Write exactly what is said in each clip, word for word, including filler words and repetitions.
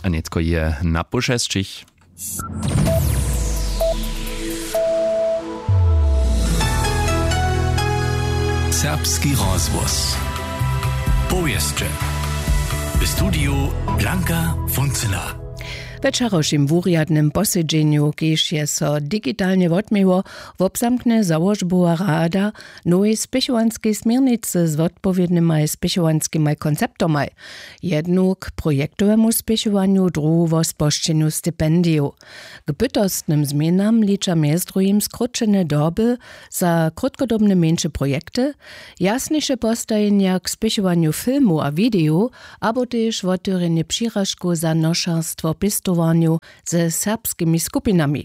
A nětko je na poł šesćich. Serbski rozhłos. Powěsće. W studiju Blanka Funcyna. We wčerawšim wurjadnym posedźenju, kiž je so digitalnje wotměło, wobzamkny załožbowa rada nowej spěchowanskej směrnicy z wotpowědnymaj spěchowanskimaj konceptomaj, jednu k projektowemu spěchowanju, druhu wo spožčenju stipendijow. K bytostnym změnam liča mjez druhim skróćene doby za krótkodobne mjeńše projekty, jasniše postajenja k spěchowanju filmow a widejow, abo tež wotewrjenje přiražkow za nošerstwo pěstowarnjow ze serbskimi skupinami.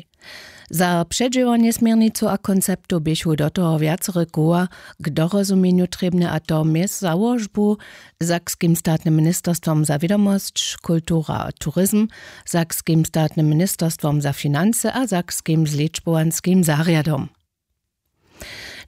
Za předźěłanje směrnicow a konceptow běchu do toho wjacore koła k dorozumjenju trěbne, a to mjez załožbu, Sakskim statnym ministerstwom za wědomosć, kultura a turizm, Sakskim statnym ministerstwom za financy a Sakskim zličbowanskim zarjadom.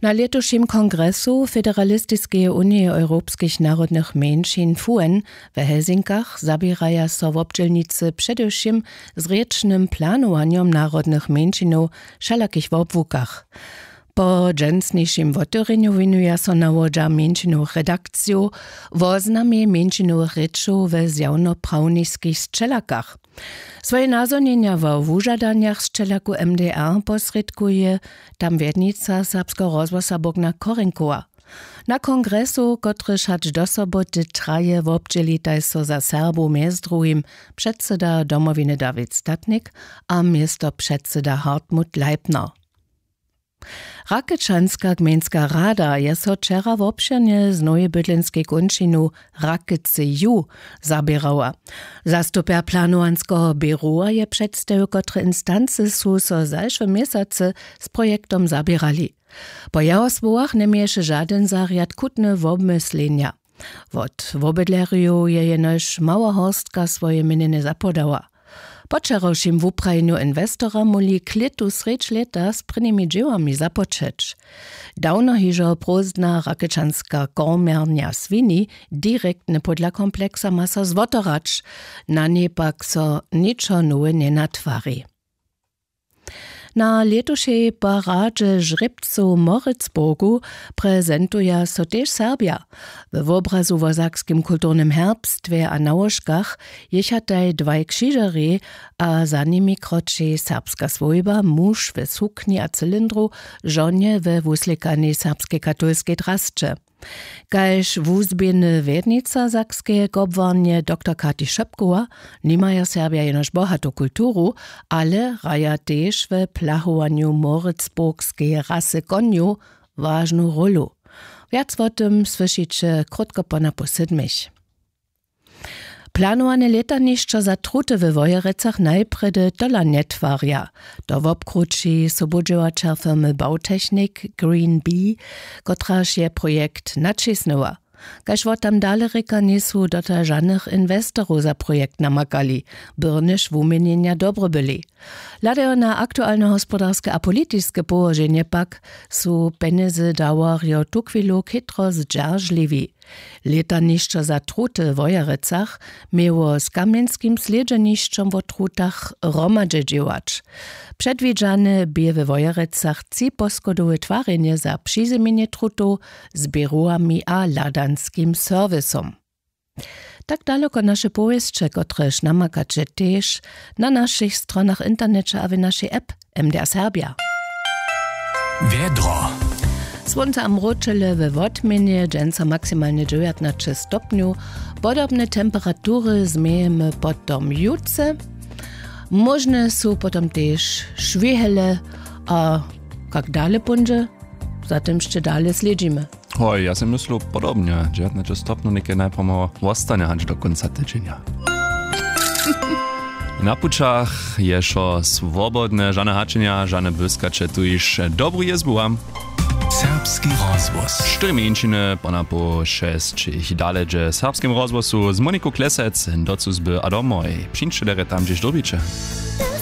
Na lětušim kongresu Federalistiskeje unije europskich narodnych mjeńšin FUEN we Helsinkach zaběraja so wobdźělnicy předewšěm z rěčnym planowanjom narodnych mjeńšinow wšelakich wobłukach. Po dźensnišim wotewrjenju wěnuja so nawodźa mjeńšinowych redakcijow woznamje mjeńšinowych rěčow we zjawnoprawniskich sćelakach. Swoje nazhonjenja wo wužadanjach sćelaku M D R posrědkuje tam wjednica Serbskeho rozhłosa Bogna Korenkowa. Na kongresu, kotryž hač do soboty traje, wobdźělitaj so za Serbow mjez druhim předsyda Domowiny Dawid Statnik a městopředsyda Hartmut Leipner. Rakečanska gmejnska rada je so wčera wobšěrnje z nowej bydlenskej kónčinu Rakecy Ju zaběrała. Zastupjer planowanskeho běrowa je předstajił, kotre instancy su so zašłe měsacy z projektom zaběrali. Po jeho słowach njeměješe žadyn zarjad chutne wobmyslenja. Wot wobydlerjow je jenož mała horstka swoje měnjenje zapodała. Po wčerawšim wuprajenju inwestora móhli klětu srjedź lěta z prěnimi dźěłami započeć. Dawno hižo prózdna rakečanska kormjarnja swini direktnje pódla kompleksa ma so zwotorać, na njej pak so něčo nowe njenatwari. Na lětušej paradźe žrěbcow w Moritzburgu prezentuja so tež Serbja. We wobrazu wo sakskim kulturnym herbstwje a nałožkach jěchataj dwaj křižerjej a za nimi kroči serbska swójba, muž w sukni a cylindru, žonje we wuslěkanej serbskej katolskej drasće. Kaž wuzběhny wjednica sakskeje kobłarnje doktor Kati Šepkowa, nimaja Serbja jenož bohatu kulturu, ale hraja tež we plachowanju moritzburgskeje rasy konjow wažnu rólu. Wjac wo tym słyšiće krótko po napoł sydmich. Planowane lětanišćo za truty we Wojerecach najprjedy tola njetwarja. To wobkrući sobudźěłaćer firmy Bautechnik Green Bee, kotraž je projekt naćisnyła. Kaž wo tam dale rěka, njejsu dotal žanych inwestorow za projekt namakali, byrnjež wuměnjenja dobre byli. Hladajo na aktualne hospodarske a politiske połoženje pak, su pjenjezy dawarjo tuchwilu chětro zdźeržliwi. Lětanišćo za truty w Wojerecach měło z kamjenskim slědźenišćom wo trutach hromadźe dźěłać. Předwidźane bě we Wojerecach třiposchodowe twarjenje za přizymjenje trutow z běrowami a hladanskim serwisom. Tak daloko naše powěsće, kotrež namakaće tež na našich stronach w interneće a w našej app M D R Serbia. Wjedro. Słónce a mróčele we wotměnje, dźensa maksimalnje dźewjatnaće stopnjow. Podobne temperatury změjemy potom jutře. Móžne su potom tež šwěhele a kak dale póńdźe, za tym sće dale slědźimy. Hoj, ja sej myslu podobnje. Dźewjatnaće stopnjow někaj najpomału wostanje hač do kónca tydźenja. Na pućach je wšo swobodne, žane hačenja, žane błyskaće, tuž dobru jězbu wam. Serbski rozhłos. Štyri mjeńšiny po napoł šesćich. Dale dźe w Serbskim rozhłosu z Moniku Klesec do cuzby a domoj. Přińdźće derje tam, hdźež dyrbiće.